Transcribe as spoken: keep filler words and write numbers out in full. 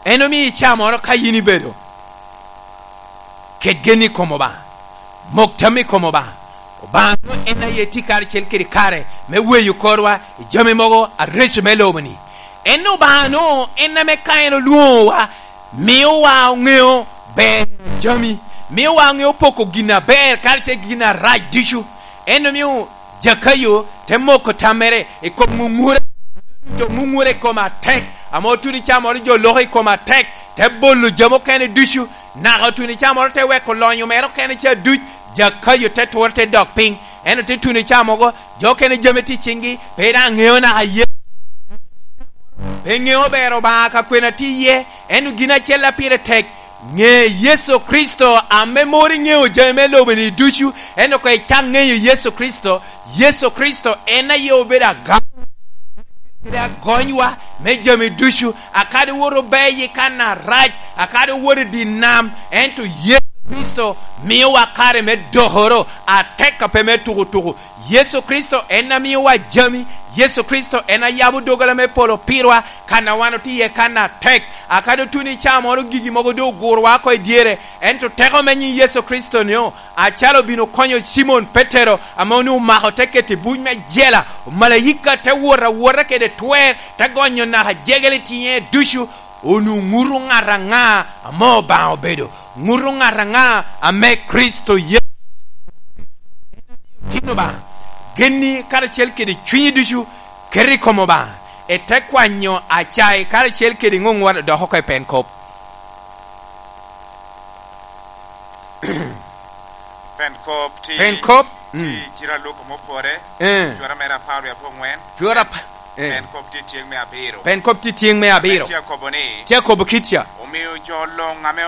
En omio icamoro ka yin ibedo kede gen i kom Obaŋa, mok tam i kom Obaŋa. Obaŋa en aye tye karacel kede kare me weyo korwa i jami mogo areco me lobo-ni. En Obaŋa-nu, en ame ka en olwoŋowa, miowa oŋeo ber jami, miowa oŋeo poko gin aber karacel gin arac ducu. En omio Jakayo te moko tammere i kom ŋuŋure, jo ŋuŋure i kom atek, ame otuno icamoro jo loko i kom atek, te bolo jami okene ducu, naka otuno icamoro te weko lonyo mere okene ca duc, Jakayo te tworo te dok piny. En ote tuno icamogo, jo okene jami tye i ciŋgi, pe daŋ ŋeo naka ye. Pe ŋeo ber Obaŋa ka kwena tye iye, ento gin acel a pire tek, ŋe Yecu Kricito ame moro iŋeo jami me lobo-ni ducu, ento ka icak ŋeyo Yecu Kricito, Yecu Kricito en aye obedo agam, kede agonywa me jami ducu, akadi woto obeyi kan arac, akadi owoto i dye nam, ento Yecu Kricito miowa kare me dokoro atek a pe me tukutuku. Yecu Kricito en a miowa jami. Yecu Kricito en a yabo doggola me polo pirwa, kan a wan otye iye kan atek. Akadi otuno i caa moro gigi mogo doŋ ogurowa oko i dyere, ento teko me nyiŋ Yecu Kricito-nio, acalo obino konyo Cimon Petero, ame onwoŋo omako te keto i buc me jela, omalaika te wot awota kede twer, te gonyo naka jegel i tiŋe ducu, onwoŋo ŋuto ŋat aŋa ame Obaŋa obedo, ŋuto ŋat aŋa ame Kricito Yecu. Tin Obaŋa, genni karacel kede cwinyi ducu, ket i kom Obaŋa, ite kwanyo acai karacel kede ŋoŋwa dok oko i pen kop. Pen kop ti-, Pen kop, ti mm. Ciro a Luka mopore, Eh. Cura mere apar wie abongwen. Cura pa-, eh. Pen kop ti tyeŋ me abiro. Pen kop ti tyeŋ me abiro. Pen tye akobo ni, Tye akobo kit ca. Omio jo luŋ ame